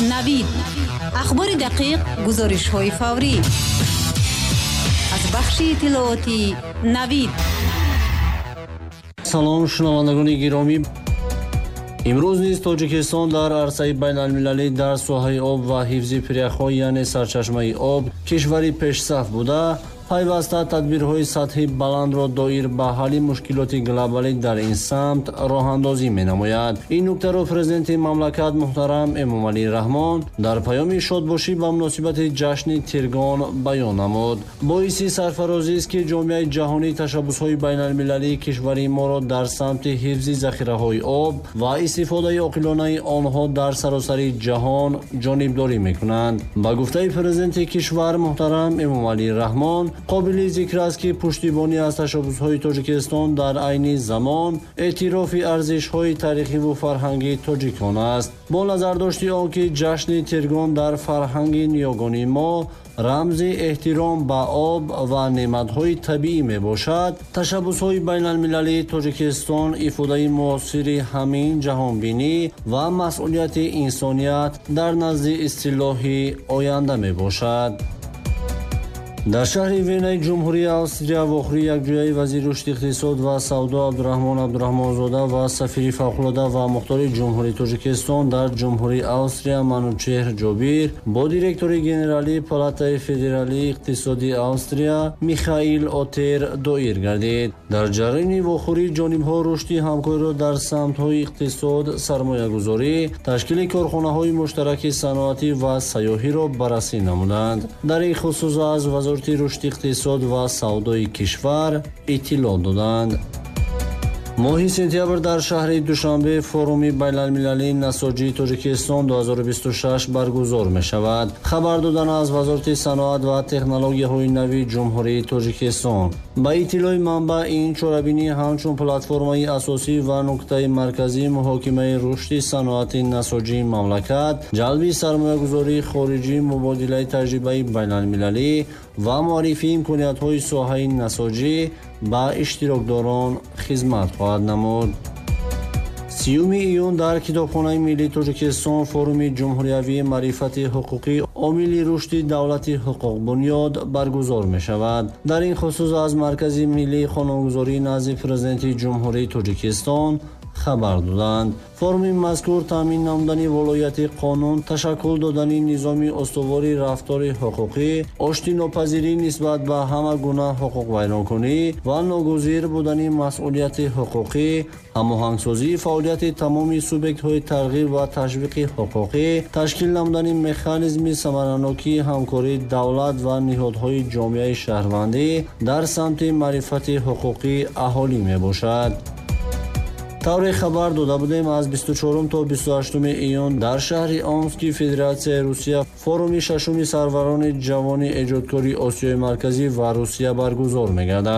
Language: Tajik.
Навид. Ахбори дақиқ, гузоришҳои фаврӣ. Аз бахши иттилоотии Навид. Салом, шунавандагони гиромӣ. Имрӯз низ Тоҷикистон дар арсаи байналмилалӣ дар соҳаи об ва ҳифзи пиряхҳо, яъне сарчашмаи об, кишвари пешсаф буда, пайваста тадбирҳои сатҳи баландро доир ба ҳалли мушкилоти глобалӣ дар ин самт роҳандозӣ менамояд. Ин нуктаро президенти мамлакат муҳтарам Эмомалӣ Раҳмон дар паёми шодбошӣ ба муносибати ҷашни Тиргон баён намуд. Боиси сарфарозист, ки ҷомеаи ҷаҳонӣ ташаббусҳои байналмилалии кишвари моро дар самти ҳифзи захираҳои об ва истифодаи оқилонаи онҳо дар саросари ҷаҳон ҷонибдорӣ мекунанд. Ба гуфтаи президенти кишвар муҳтарам Эмомалӣ Раҳмон, қобили зикр аст, ки пуштибонӣ аз ташаббусҳои Тоҷикистон дар айни замон эътирофи арзишҳои таърихиву фарҳангии тоҷикон аст. Бо назардошти он ки ҷашни Тиргон дар фарҳанги ниёгони мо рамзи эҳтиром ба об ва неъматҳои табиӣ мебошад, ташаббусҳои байналмилалии Тоҷикистон ифодаи муосири ҳамин ҷаҳонбинӣ ва масъулияти инсоният дар назди истилоҳи оянда мебошад. Дар шаҳри Венаи Ҷумҳурии Австрия вохӯрии якҷояи вазири рушди иқтисод ва савдо Абдураҳмон Абдураҳмонзода ва сафири фавқулода ва мухтори Ҷумҳурии Тоҷикистон дар Ҷумҳурии Австрия Манучеҳр Ҷобир бо директори генералии Палатаи федералии иқтисодии Австрия Михаил Отер доир гардид. Дар ҷараёни вохӯрӣ ҷонибҳо рушди ҳамкориро дар самтҳои иқтисод, сармоягузорӣ, ташкили корхонаҳои муштараки саноатӣ ва сайёҳиро баррасӣ намуданд. Дар ин хусус аз вазорати рушди иқтисод ва савдои кишвар иттилоъ доданд. Моҳи сентябр дар шаҳри Душанбе форуми байналмилалии насоҷии Тоҷикистон 2026 баргузор мешавад. Хабар додан аз Вазорати саноат ва технологияҳои нави Ҷумҳурии Тоҷикистон. Ба иттилои манбаъ, ин чорабинӣ ҳамчун платформаи асосӣ ва нуктаи марказии муҳокимаи рушди саноати насоҷии мамлакат, ҷалби сармоягузории хориҷӣ, мубодилаи таҷрибаи байналмилалӣ ва муаррифии имкониятҳои соҳаи насоҷӣ ба иштирокдорон хизмат хоҳад намуд. 30 июн дар Китобхонаи миллии Тоҷикистон форуми ҷумҳуриявии маърифати ҳуқуқӣ омили рушди давлати ҳуқуқбунёд баргузор мешавад. Дар ин хусус аз Маркази миллии қонунгузории назди Президенти Ҷумҳурии Тоҷикистон хабар доданд. Форуми мазкур таъмин намудани волояти қонун, ташаккул додани низоми устувори рафтори ҳуқуқӣ, оштинопазирӣ нисбат ба ҳама гуна ҳуқуқвайронкунӣ ва ногузир будани масъулияти ҳуқуқӣ, ҳамоҳангсозии фаъолияти тамоми субъектҳои тарғиб ва ташвиқи ҳуқуқӣ, ташкил намудани механизми самаранокии ҳамкории давлат ва ниҳодҳои ҷомеаи шаҳрвандӣ дар самти маърифати ҳуқуқии аҳолӣ мебошад. Тавре хабар дода будем, аз 24 то 28 июн дар шаҳри Омски Федератсияи Русия форуми шашуми сарварони ҷавони эҷодкори Осиёи Марказӣ ва Русия баргузор мегардад.